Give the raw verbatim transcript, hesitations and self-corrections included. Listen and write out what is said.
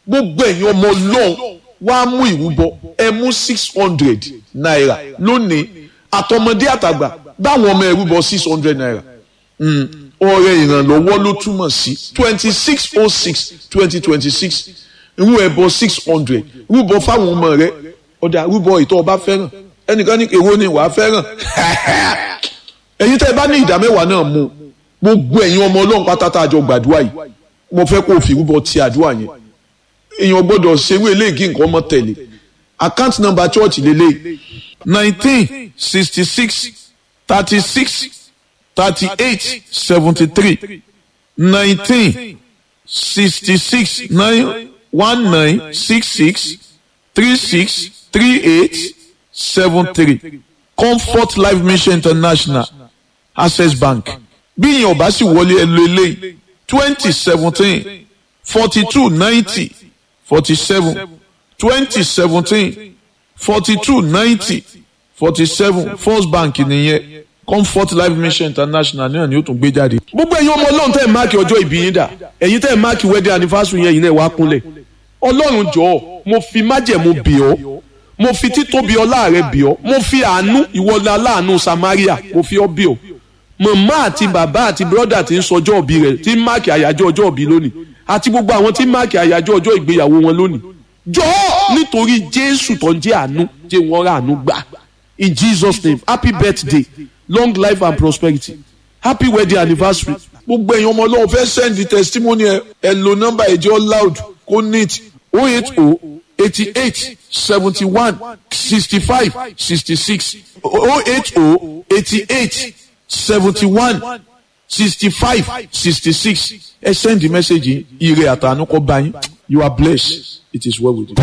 Gbogbo ẹ̀yin ọmọ Ọlọ́run wá mú ìrúbọ, ẹ mú six hundred naira lónìí. Àtọmọdé àtàgbà báwọn ọmọ ẹrúbọ six hundred naira. Ọrẹ ìrànlọ́wọ́ ló túmọ̀ sí twenty six oh six twenty twenty six. Irú ẹbọ six hundred rúbọ fáwọn ọmọ rẹ. Ọ̀dà rúbọ ìtọ́ ọba fẹ́ràn. Ẹnìkan ní èwo ni wàá fẹ́ràn. Ẹ̀yin tẹ́ ẹ bá ní ìdá mẹ́wàá náà mú. Gbogbo ẹ̀yin ọmọ Ọlọ́run pátá tá a jọ gbàdúrà yìí, mo fẹ́ kó o fi rúbọ ti àdúrà yẹn. Èèyàn gbọ́dọ̀ ṣerú eléyìí nǹkan ọmọ tẹ̀lé. Account number church lélẹ̀ nineteen sixty six thirty six thirty eight seventy three nineteen sixty six nine one nine six six three six three eight seven three Comfort Life Mission International, Access Bank. Bí ìyẹn ò bá sì wọlé, ẹ lo eléyìí twenty seventeen forty two ninety forty seven twenty seventeen forty two ninety forty seven First Bank nìyẹn. Comfort Life Mission International náà ni ó tún gbé jáde. Gbogbo ẹ̀yin ọmọ Ọlọ́run tẹ́ ẹ̀ máàkì ọjọ́ ìbí yín dà, ẹ̀yin tẹ́ ẹ̀ máàkì wedding anniversary yẹn, ẹ̀yin náà wá kúnlẹ̀. Ọlọ́run jọ̀ọ́, mo fi májẹ̀mú bì ọ́, mo fi títóbi ọlá rẹ bì ọ́, mo fi àánú ìwọlá aláàánú Samaria mo fi ọ́ bì ọ́. Màmá àti bàbá àti brọ́dà tí ń sọjọ́ òbí rẹ̀, tí ń máàkì àyájọ́ ọjọ́ òbí lónìí, àti gbogbo àwọn tí ń máàkì àyájọ́ ọjọ́ ìgbéyàwó wọn lónìí, jọ̀ọ́ nítorí Jésù tó ń jẹ́ àánú, jẹ́ wọ́n rà àánú gbà. In Jesus' name, happy birthday, long life and prosperity, happy wedding anniversary. Gbogbo ẹ̀yin ọmọ Ọlọ́run fẹ́ send testimony ẹ, ẹ lo nọ́mbà ẹ̀jẹ̀ loud kó neat oh eight oh eighty eight seventy one sixty five sixty six oh eight oh eighty eight seventy one sixty five sixty six. Ẹ send the message yìí, ire àtànú kó bá yín. You are blessed, it is well with you.